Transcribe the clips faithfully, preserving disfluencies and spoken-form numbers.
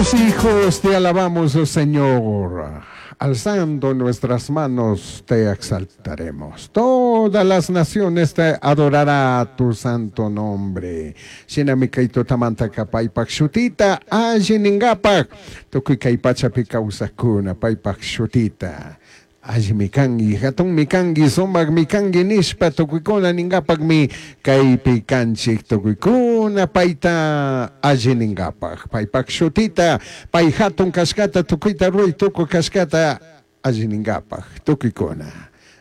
Tus hijos te alabamos, oh Señor. Alzando nuestras manos te exaltaremos. Todas las naciones te adorará tu santo nombre. Shinami kay tutamantaka paypak shutita alli ningapak tukuy kay pachapi kawsakuna paypak shutita. Allimi kanki, hatunmi kanki, sumakmi kanki nishpa tukuykuna ningapakmi kaypi kanchik tukuykuna payta alli ningapak. Paypak shutita, pay hatun kashkata tukuyta ruray tukuy kashkata alli ningapak tukuykuna.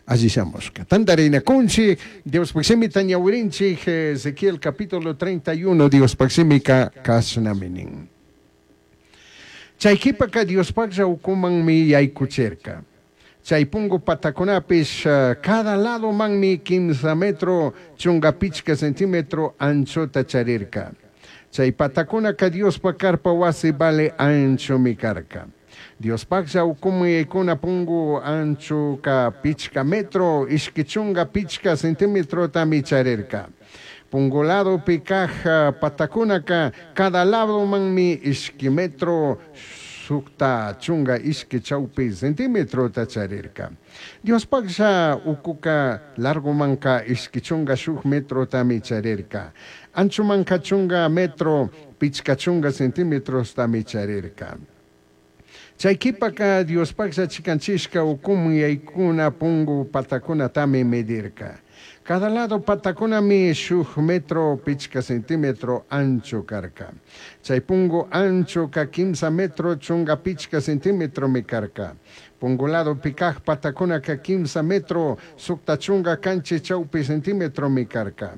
Alli shamushka. Tantarinakunchik, Diospuk shimita ñawirinchik, Ezequiel capítulo treinta y uno, Diospuk shimika kashnami nin. Chay kipaka Diospaklla ukumanmi yaykuchirka. Chay pungu patakunapish cada ladomanmi kimsa metro chunga pichka centímetro anchota charirka. Chay patakunaka Diospa carpa wasi vale anchomi karka. Diospaklla ukuman yaykuna pungu anchoka pichka metro ishki chunga pichka centímetrotami charirka. Pungu ladopi kaj patakunaka cada ladomanmi ishki metro sukta chunga ishki chawpi centímetrota charirka. Diospaklla ukuka largomanka ishki chunga shuk metrotami charirka. Anchomanka chunga metro pichka chunga centímetrostami charirka. Chay kipaka Diospaklla chikanchishka ukuman yaykuna pungu patakunatami medirka. Cada lado patakunami shuk metro pichka centímetro ancho karka. Chay pungu anchoka kimsa metro chunga pichka centímetromi karka. Pungu ladopi kaj patakunaka kimsa metro sukta chunga kanchis chawpi centímetromi karka.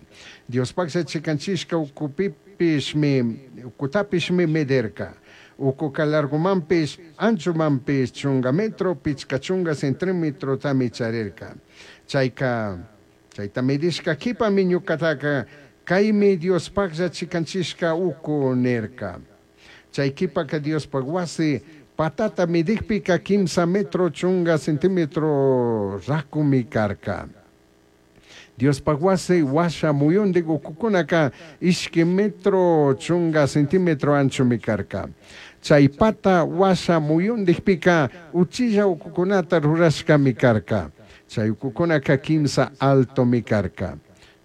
Diospaklla chikanchishka ukupipishmi ukutapishmi medirka. Ukuka largomanpish anchomanpish chunga metro pichka chunga centímetrotami charirka. Chayka chayta medishka kipami ñukataka kaymi Diospaklla chikanchishka uku nirka. Chay kipaka Diospaj wasi patata medikpika kimsa metro chunga centímetro rakumi karka. Diospaj wasi washa muyundik ukukunaka ishki metro chunga centímetro anchomi karka. Chay pata washa muyundikpika uchilla ukukunata rurashkami karka. Chay ukukunaka kimsa altomi karka.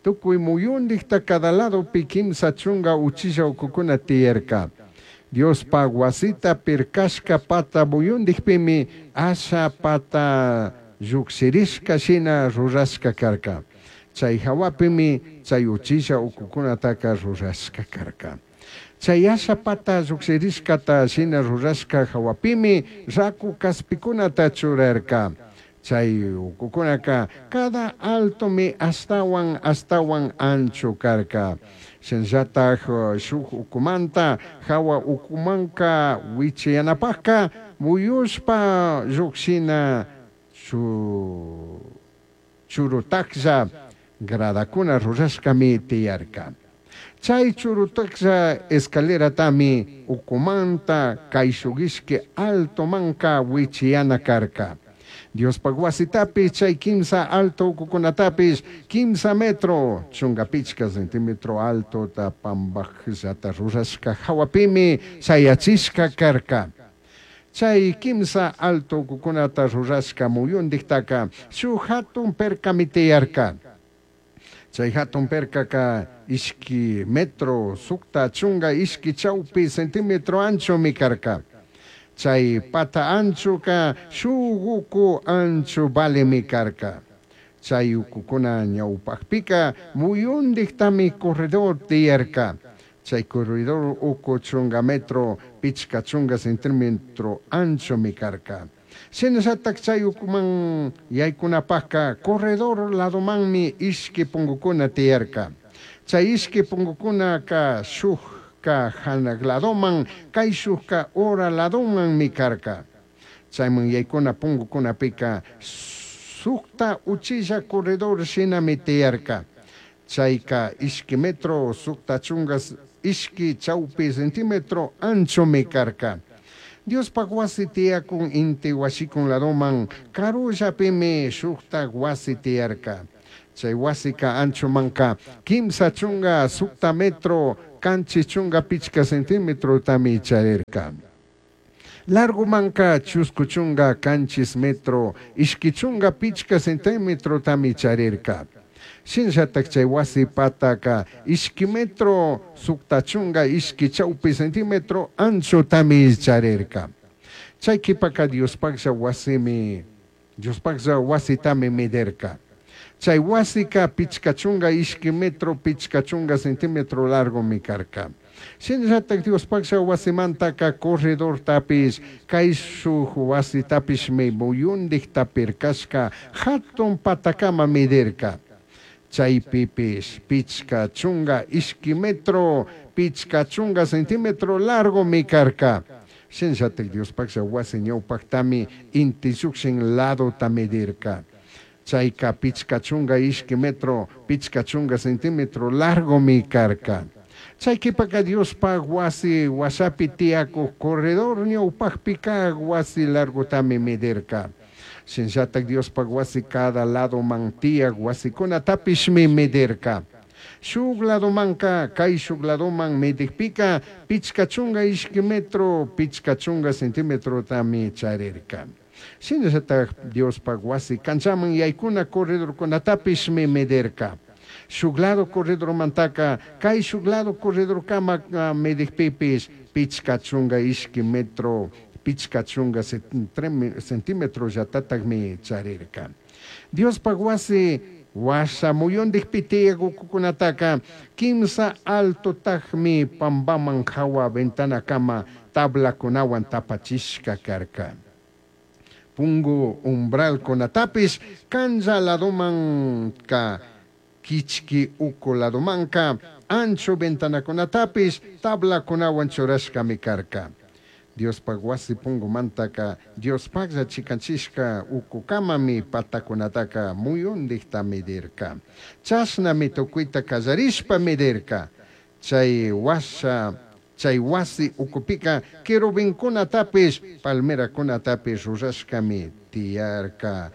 Tukuy muyundikta cada ladopi kimsa chunga uchilla ukukuna tiyarka. Diospaj wasita pirkashka pata muyundikpimi asha pata llukshirishka shina rurashka karka. Chay hawapimi chay uchilla ukukunataka rurashka karka. Chay asha pata llukshirishkata shina rurashka hawapimi raku kaspikunata churarka. Chay ukukunaka cada altomi ashtawan ashtawan ancho karka. Shinallataj shuk ukumanta hawa ukumanka wichiyanapajka muyushpa llukshina chu churutaklla gradakuna rurashkami tiyarka. Chay churutaklla escaleratami ukumanta kayshuk ishki altomanka wichiyana karka. Diospaj wasitapish chay kimsa alto ukukunatapish kimsa metro chunga pichka centímetro altota pambakllata rurashka hawapimi shayachishka karka. Chay kimsa alto ukukunata rurashka muyundiktaka shuk hatun perkami tiyarka. Chay hatun perkaka ishki metro sukta chunga ishki chawpi centímetro anchomi karka. Chay pata anchoka shuk uku ancho valemi karka. Chay ukukuna ñawpakpika muyundiktami corredor tiyarka. Chay corredor uku chunga metro pichka chunga centímetro anchomi karka. Shinallatak chay ukuman yaykunapakka corredor ladomanmi ishki pungukuna tiyarka. Chay ishki pungukunaka shukka hanak ladoman, kayshukka ura ladomanmi karka. Chayman yaykuna pungukunapika sukta uchilla corredor shinami tiyarka. Chayka ishki metro sukta chunga ishki chawpi centímetro anchomi karka. Diospaj wasi tiyakun inti washikun ladoman karullapimi shuktak wasi tiyarka. Chay wasika anchomanka kimsa chunga sukta metro kanchis chunga pichka centímetrotami charirka. Largomanca chuscu chunga canchis metro, ishqui chunga pichca centimetrotami charirca. Shinallataj chay wasi pataca ishqui metro sucta chunga ishqui chaupi centímetro anchotami charirca. Chay quipaca Diospajlla wasimi, Diospajlla wasitami medirca. Chay wasika pichca chunga ishqui metro pichca chunga centímetro largomi carca. Shinallataj Diospajlla wasimantaka corredortapish caishuj wasitapishmi muyundijta pircashca jatun patakama medirca. Chaypipish pichca chunga ishqui metro pichca chunga centímetro largomi carca. Shinallataj Diospajlla wasi ñawpajtami inti llukshin ladota medirca. Chayka pichca chunga ishqui metro pichca chunga centímetro largomi carca. Chay qhipaka Diospaj wasi washapi tiyakuj corredor ñawpajpika wasi largotami medirca. Shinallataj Diospaj wasi cada ladoman tiyaj wasikunatapishmi medirca. Shuk ladomanka kayshuk ladoman medikpika pichca chunga ishqui metro pichca chunga centimetrotami charirca. Shinallataj Diospaj wasi canchaman yaykuna corredorkunatapishmi medirca. Shuk lado corredormantaka kayshuk lado corredorkama medikpipish pichca chunga ishqui metro pichca chunga centímetro llatatajmi charirca. Diospaj wasi washa muyundikpi tiyaj ukukunataka kimsa altotajmi pambaman jawa ventanakama tablakunawan tapachishka karka. Pungu umbralkunatapish canlla ladomanka kichki uku ladomanka ancho ventanakunatapish tablakunawan churashkami karka. Diospaj wasi pungumantaka Diospajlla chikanchishka ukukamami patakunataka muyundikta medirka. Chashnami tukuyta kallarishpa medirka. Chay washa chay wasi ukupika querubinkunatapish palmerakunatapish rurashkami tiyarka.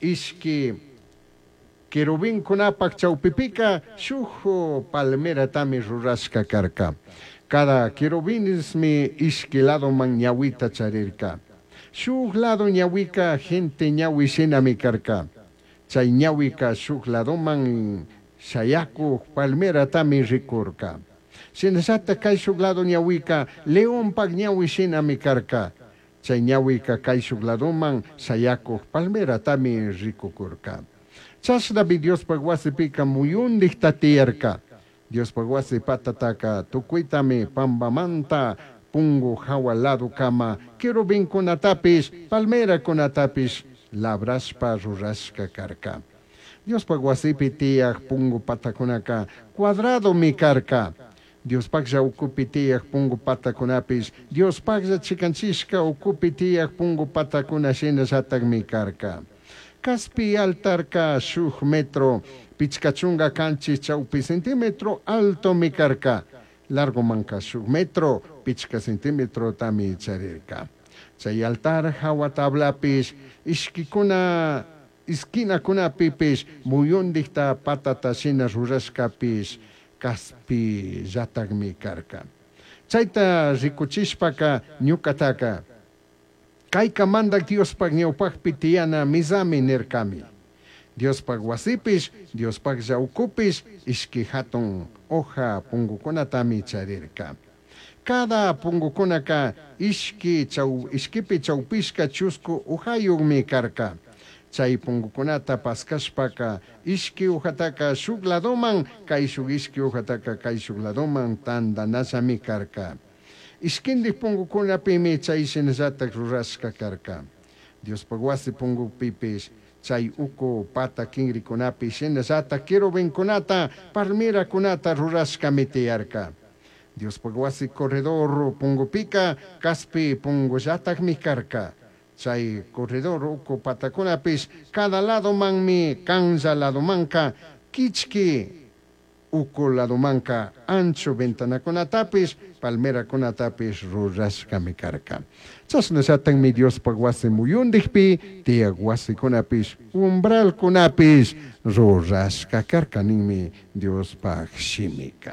Ishki querubinkunapak chawpipika shuk palmeratami rurashka karka. Cada querubinismi ishki ladoman ñawita charirka. Shuk lado ñawika gente ñawi shinami karka. Chay ñawika shuk ladoman shayakuj palmeratami rikurka. Shinallataj kayshuk lado ñawika leonpak ñawi shinami karka. Chay ñawika kayshuk ladoman shayakuj palmeratami rikukurka. Chashnami Diospaj wasipika muyundikta tiyarka. Diospaj wasi patataka tukuytami pambamanta pungu jawa ladokama querubinkunatapish palmerakunatapish labrashpa rurashka karka. Diospaj wasipi tiyaj pungu patakunaka cuadradomi karka. Diospajlla ukupi tiyaj pungu patakunapish Diospajlla chikanchishka ukupi tiyaj pungu patakuna shinallatakmi karka. Caspi altarka shuk metro pichca chunga canchis chaupi centímetro altomi karka. Largomanka shuk metro pichca centímetrotami charirka. Chay altar jawa tablapish ishkikuna esquinakunapipish muyundikta patata shina rurashkapish kaspillatakmi karka. Chayta rikuchishpaka ñukataka kayka mandak Diospaj ñawpajpi tiyana misami nirkami. Diospaj wasipish, Diospajlla ukupish ishki hatun hoja pungukunatami charirka. Cada pungukunaka ishki chaw, ishkipi chawpishka chusku hojayuqmi karka. Chay pungukunata paskashpaka ishki hojataka shuk ladoman, kayshuk ishki hojataka kayshuk ladoman tandanallami karka. Ishkindik pungukunapimi chay shinallatak rurashka karka. Diospaj wasi pungupipish chay uku pata kinrikunapi shinallatak querubinkunata palmerakunata rurashkami tiyarka. Diospaj wasi corredor pungupika kaspi pungullatakmi karka. Chay corredor uku patakunapish cada ladomanmi canlla ladomanka kichki uku ladomanka ancho ventanakunatapish palmerakunatapish rurashkami karka. Chashnallatakmi Diospaj wasi muyundikpi tiyaj wasikunapish umbralkunapish rurashka karka ninmi Diospaj shimika.